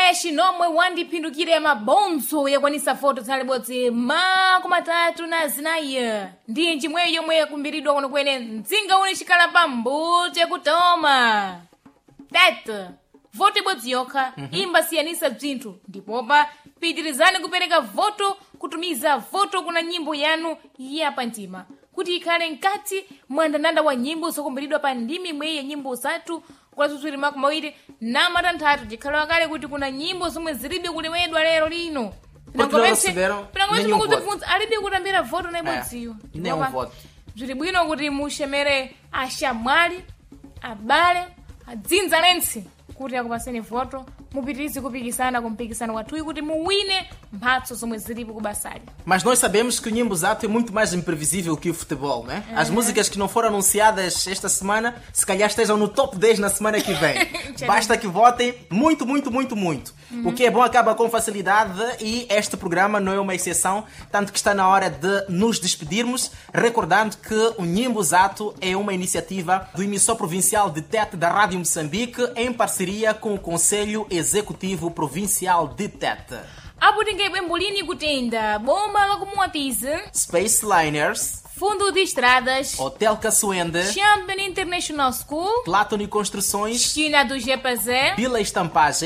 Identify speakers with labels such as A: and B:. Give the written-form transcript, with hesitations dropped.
A: Ya xinomwe wandiphindukire mabonzo yakwanisa foto tsalibodzi 34 ndi njimweyo yomwe yakumbiridwa kunokwene mdzinga uni xikhala pa mbute kutoma tete voto ibodzi yokha imbasiyanisa bzinthu, ndipopa pitirizani kupereka voto, kutumiza voto kuna nyimbo yanu yapamtima kuti ikhale mkati mwa ndandanda wa nyimbo zokumbiridwa pa ndimi imweyi ya nyimbo zathu kulazutswiri 26. Tikhalewa kale kuti kuna nyimbo zomwe zilibe kulewedwa lero lino.
B: Porque nenhum voto.
A: Pinangopense alibe kutambira voto na ibodziyo.
B: Nenhum voto.
A: Bziri bwino kuti muxemere axamwali, abale, adzinza lentsi kuti akupaseni voto, mupitirize kupikisana kumpikisano wathuyi kuti muwine mphatso zomwe zilipo kubasali.
B: Mas nós sabemos que o Nyimbo Zato é muito mais imprevisível que o futebol, né? As músicas que não foram anunciadas esta semana, se calhar estejam no top 10 na semana que vem. Basta que votem muito, muito, muito, muito. O que é bom acaba com facilidade e este programa não é uma exceção, tanto que está na hora de nos despedirmos, recordando que o Nyimbo Zato é uma iniciativa do emissor provincial de Tete da Rádio Moçambique, em parceria com o Conselho Executivo Provincial de Tete.
A: Apo tingaibwe mbulini kutenda boma lakumuwatize,
B: Space Liners,
A: Fundo de Estradas,
B: Hotel Caçuende,
A: Champion International School,
B: Platoni Construções,
A: China do GPZ,
B: Bila Estampagem.